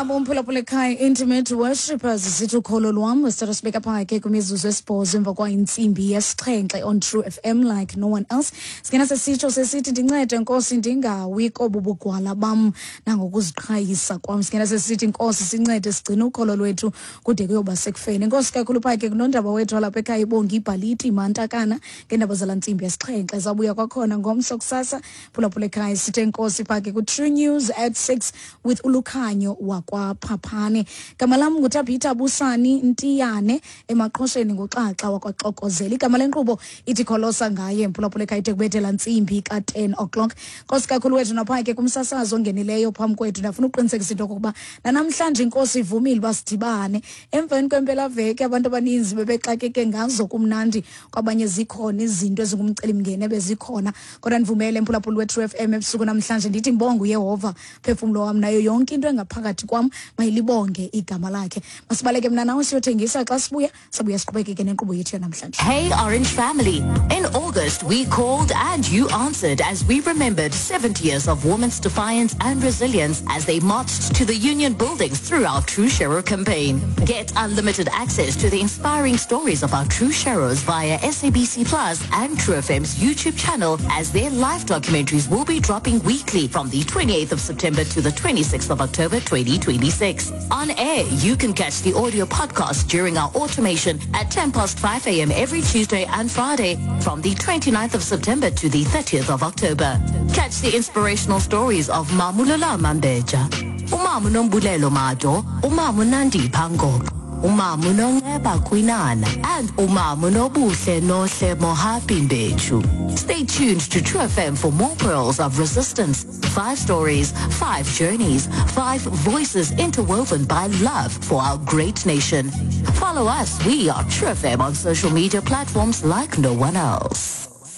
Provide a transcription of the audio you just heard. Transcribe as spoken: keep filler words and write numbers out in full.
Ngabo umphulaphula ekhaya, Intimate Worshippers, sithi "Ukholo Lwam". Sithatha sibeka phaa ke kwimizuzu esibhozo emva kwayintsimbi yesixhenxe on True F M like no one else. Singena sesitsho sesithi, "Ndincede Nkosi, ndingawi kobu bugwala bam nangokuziqhayisa kwam." Singena sesithi, "Nkosi, sincede sigcine ukholo lwethu kude kuyoba sekufeni." Inkosi kakhulu phaa ke kunondaba wethu walapha ekhaya, ibongi ibhaliti mantakana, ngeendaba zala ntsimbi yesixhenxe. Zawubuya kwakhona ngomso kusasa, phulaphula ekhaya. Sithe enkosi phaa ke ku-True News at six with uLukhanyo wakwaPhaphane. Gama lam nguTabhitha Busani Ntiyane, emaqhosheni nguXaxa wakwaXokozela. Igama lenkqubo ithi Kholosa Ngaye, mphulaphula ekhaya, ide kubethela ntsimbi ka-ten o'clock. Nkosi kakhulu wethu naphaa ke kumsasazi ongenileyo phambi kwethu. Ndafuna ukuqinisekisa into yokokuba nanamhlanje inkosi ivumile uba sidibane emveni kwempelaveki. Abantu abaninzi bebexakeke ngazo kumnandi, kwabanye zikhona izinto ezingumcelimngeni ebezikhona, kodwa ndivumele, mphulaphuli we-True F M, ebusuku namhlanje ndithi mbonge uYehova, phefumlo wam, nayo yonke into engaphakathi kwam mayilibonge igama lakhe. Masibaleke mna nawe siyothengisa. Xa sibuya, sabuya siqhubekeke nenkqubo yethu yanamhlanje. Hey, Orange family. In August, we called and you answered as we remembered seventy years of women's defiance and resilience as they marched to the union buildings through our True Sharer campaign. Get unlimited access to the inspiring stories of our True Sharers via S A B C Plus and True F M's YouTube channel, as their live documentaries will be dropping weekly from the twenty-eighth of September to the twenty-sixth of October twenty twenty-six. On air, you can catch the audio podcast during our automation at ten past five a m every Tuesday and Friday from the twenty-ninth of September to the thirtieth of October. Catch the inspirational stories of Mamulala Mambeja, Umamu Nombulelo Mado, Umamu Nandi Pango, Umamu Nonceba Kwinana, and Umamu Nobuhle Nohle Mohapi Mbechu. Stay tuned to True F M for more pearls of resistance. Five stories, five journeys, five voices interwoven by love for our great nation. Follow us. We are True F M on social media platforms like no one else.